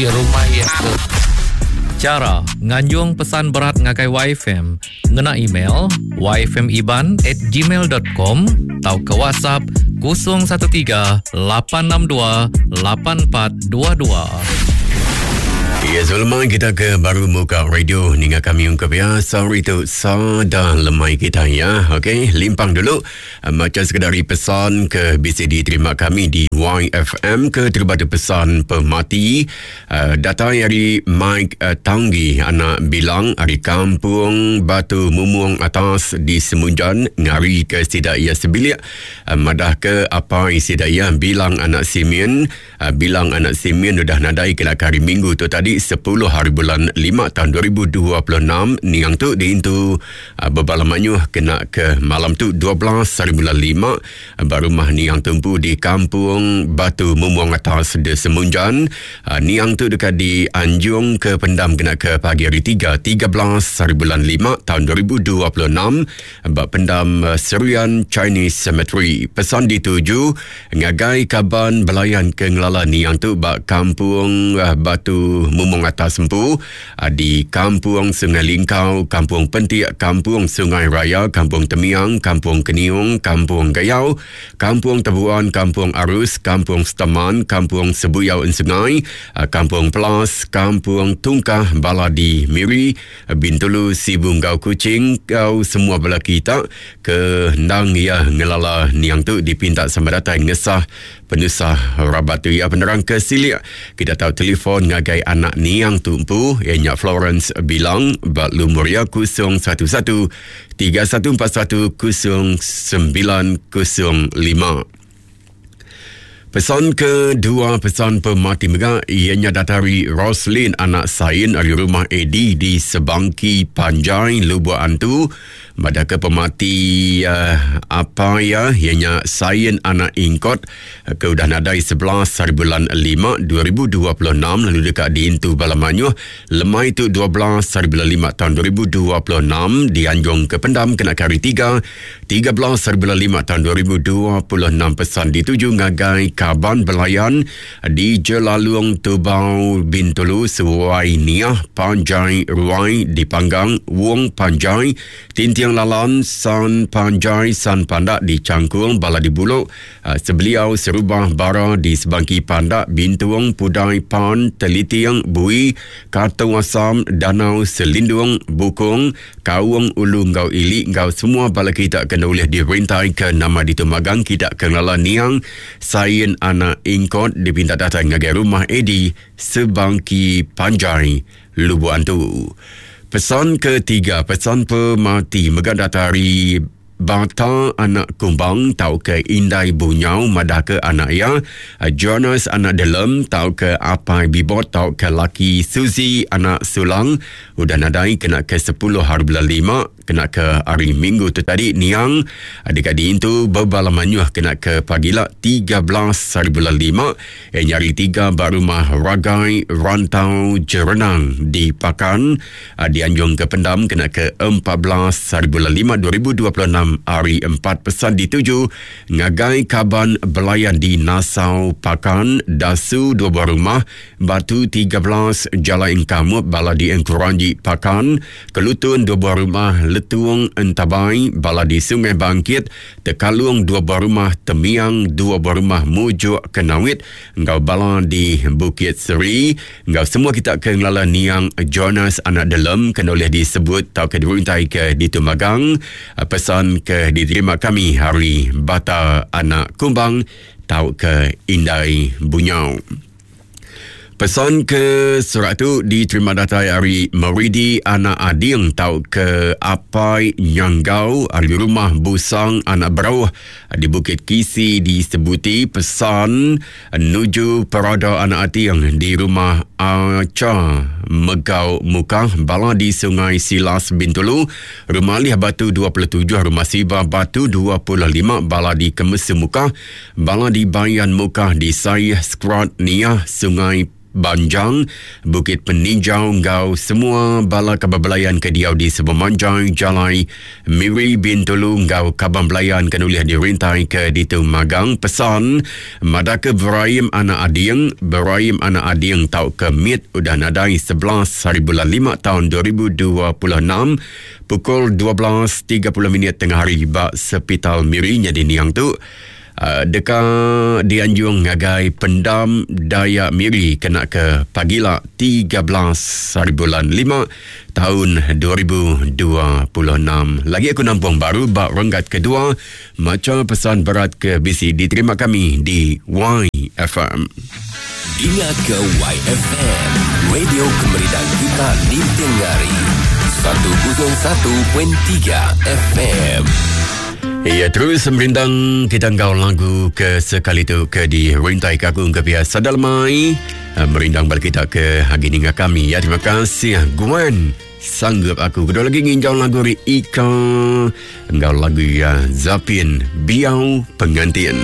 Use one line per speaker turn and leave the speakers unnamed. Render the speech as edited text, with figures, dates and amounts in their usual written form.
Rumah iya ke.
Chara nganjung pesan berat ngagai YFM ngena email yfmiban at gmail dot com tauka WhatsApp 013 862 8422.
Ya, sebelum kita ke baru muka radio ninga kami ungkup ya. Sorry tu sada lemai kita ya. Okey, limpang dulu. Macha sekeda ari pesan ke bisi diterima kami di YFM ke terubah tu pesan pemati datai ari Mike Tanggi anak Bilang ari Kampung Batu Mumung Atas di Semunjan ngari ke sida iya sebilik madah ke apai sida iya Bilang anak Simin Bilang anak Simeon udah nadai kena ke hari Minggu tu tadi sepuluh hari bulan lima taun 2026 niang tu diintu bebala mayuh kena ke malam tu 12 hari bulan lima ba rumah niang tu empu di Kampung Batu Mumung Atas de Semunjan. Niang tu deka dianjung ke pendam kena ke pagi hari tiga 13 hari bulan lima taun 2026 ba pendam Serian Chinese Cemetery. Pesan dituju Ngagai kaban belayan ke ngelala niang tu ba Kampung Batu Mumung Atas empu di Kampung Sungai Lingkau, Kampung Pentik, Kampung Sungai Raya, Kampung Temiang, Kampung Keniung, Kampung Gayau, Kampung Tebuan, Kampung Arus, Kampung Seteman, Kampung Sebuyau Ensungai, Kampung Pelas, Kampung Tungkah, Bala di Miri, Bintulu, Sibu enggau Kuching enggau semua bala kita ke endang iya ngelala niang tu dipinta sama datai ngesah penusah rabat tu. Iya penerang ke silik kita tau telefon ngagai anak niang tu empu iya nya Florence Bilang ba lumur iya 011 3141 0905. Pesan kedua pesan pemati mega iya nya datai ari Roslin anak Sain ari rumah Eddie di Sebangki Panjai Lubok Antu madahka pemati uh, apa iya iya nya Sain anak Ingkot ke udah nadai 11 hari bulan 5 2026 lalu deka diintu bala mayuh lemai tu 12 hari bulan 5 tahun 2026 dianjung ke pendam kena ke hari 3 13 hari bulan 5 tahun 2026 pesan dituju ngagai kaban belayan di Jelalung Tubau Bintulu Suai Niah Panjai Ruai di Panggang Wong Panjai Tinting Lalan San Panjai San Pandak di Changkung Bala di Bulok eh, Sebeliau Serubah Bara di Sebangki Pandak Bintung Pudai Pan Teliting Bui Katong Asam Danau Selindung Bukong Kaung ulu enggau ili enggau semua bala kita ke enda ulih dirintai ke nama ditu magang kita ke ngelala niang Sain anak Ingkot dipinta datai ngagai rumah Eddie Sebangki Panjai Lubok Antu. Pesan ketiga, pesan pemati mega datai ari Bata anak Kumbang tauka Indai Bunyau madahka anak iya Jonas anak Delem tauka Apai Bibot tauka laki Suzy anak Sulang udah nadai kena ke sepuluh hari bulan lima kena ke hari Minggu tu tadi niang deka diintu bebala mayuh kena ke pagila 13 hari bulan lima iya nya hari tiga ba rumah Ragai Rantau Jerenang di Pakan. Dianjung ke pendam kena ke 14 hari bulan 5 2026 hari 4 pesan dituju ngagai kaban belayan di Nasau Pakan Dasu dua buah rumah Batu 13 Jalai Engkamuk bala di Engkuranji Pakan Kelutun dua buah rumah Letung Entabai bala di Sungai Bangkit Tekalung dua buah rumah Temiang dua buah rumah Mujuk Kenawit enggau bala di Bukit Seri Enggau semua kita ke ngelala niang Jonas anak Delem ke ulih disebut tauka diruntai ke ditu magang pesan ke diterima kami hari Bata anak Kumbang tauka Indai Bunyau. Pesan ke surat tu diterima datai ari Meridi anak Ading tauka Apai Nyanggau ari rumah Busang anak Berauh di Bukit Kisi di Sebuti pesan Nuju Perada Anak Ating di Rumah Acha. Megau Mukah, bala di Sungai Silas Bintulu, Rumah Alih Batu 27, Rumah Siba Batu 25, bala di Kemesu Mukah, bala di Bayan Mukah di Saih, Skrat, Niah, Sungai Banjang, Bukit Peninjau enggau semua bala kaban belayan ke diau di sepemanjai jalai Miri Bintulu enggau kaban belayan ke nulih dirintai ke ditu magang pesan madahka Beraim anak Ading, Beraim anak Ading tauka Mit udah nadai 11 haribulan lima taun 2026 pukul 12.30 minit tengah hari ba Sepital Miri nyadi niang tu. Deka dianjung ngagai Pendam Dayak Miri kena ke pagila 13 hari bulan 5 taun 2026. Lagi aku nampung baru ba renggat kedua macha pesan berat ke bisi diterima kami di YFM.
Dinga ke YFM, radio kemerindang kita ninting hari. 101.3 FM.
Ya, terus merindang kita enggau lagu ke sekali tu ke di rintai ke aku ke biasa dalamai. Eh, merindang balik kita ke hari ninga kami. Ya, terima kasih Gwen. Sanggup aku. Kedua lagi nginjau lagu ri Ika. Enggau lagu ya Zapin Biau Pengantin.